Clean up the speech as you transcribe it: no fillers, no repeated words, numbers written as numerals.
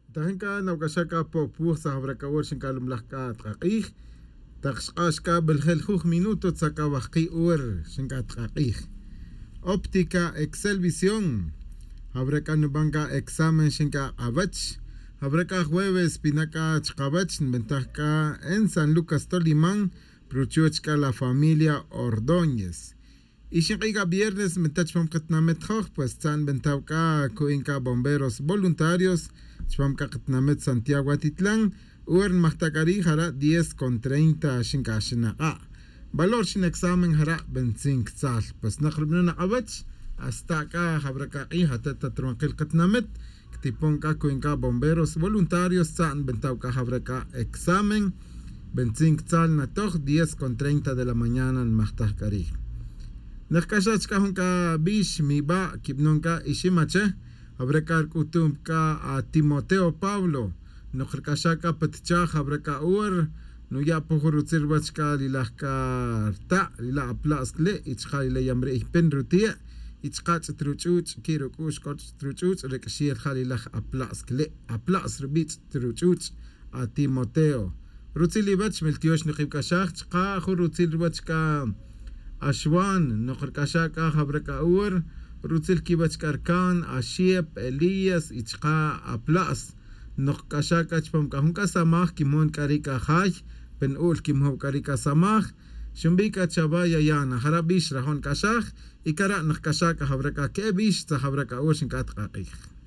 Tajin k'a nawk'axaj k'a Pop Wuj sa jab'rak'awor xink'a lumlaj k'a tqaq'ij taq xq'ax k'a b'eljeljuj minuto tzak'a wajqi' uwer xink'a tqaq'ij. Óptica Excel Visión jab'rak'a nub'an k'a examen xink'a q'awach jab'rak'a jueves pinak'a chqawach nb'entaj k'a en San Lucas Tolimán pruchuch k'a la familia Ordóñez. Y xinq'i k'a viernes nb'entaj chpam qatnamit joj pues tza'n nb'entaw k'a ku'in k'a bomberos voluntarios chpam k'a qatnamit Santiago Atitlán uwer nmajtak'ari jara 10:30 xink'a xinaq'a'. Valor xin examen jara b'entzin ktzal pues naq rub'inun aq'awach hasta k'a jab'rak'a q'ij atata truwanqil qatnamit ktipon k'a ku'in k'a bomberos voluntarios tza'n nb'entaw k'a jab'rak'a examen b'entzin ktzal natoj 10:30 de la mañana nmajtaj k'ari'. Naqk'axach k'a jun k'a b'ix mib'a kib'nun k'a iximache jab'rak'a rk'utum k'a a Timoteo Pablo noq rk'axa k'a patchaj jab'rak'a uwer nuya' po jun rutzil ruwach k'a lilaj k'a rta' lila' apla'sk le' y chqa lila' yamri'y pin rutie' y chqa ch'it ruch'uch' ki' ruk'u'x k'o ch'it ruch'uch' rik'xiel ja lilaj apla'sk le' apla's rub'i' ch'it ruch'uch' a Timoteo. Rutzil iwach miltyox niqib'k'axaj chqa jun rutzil ruwach k'a Axwan noq rk'axa k'a jab'rak'a uwer rutzil kiwach k'a rkan Axiep Elías y chqa apla's noq k'axa k'a chpam k'a jun k'a samaj kimon k'a ri k'a jay pen u'l kimjob k'a ri k'a samaj xumb'i k'a chawa yayana jara b'ix rajon k'axaj y kara' naq k'axa k'a jab'rak'a ke'e b'ix tza jab'rak'a uwer xink'a tqaq'ij.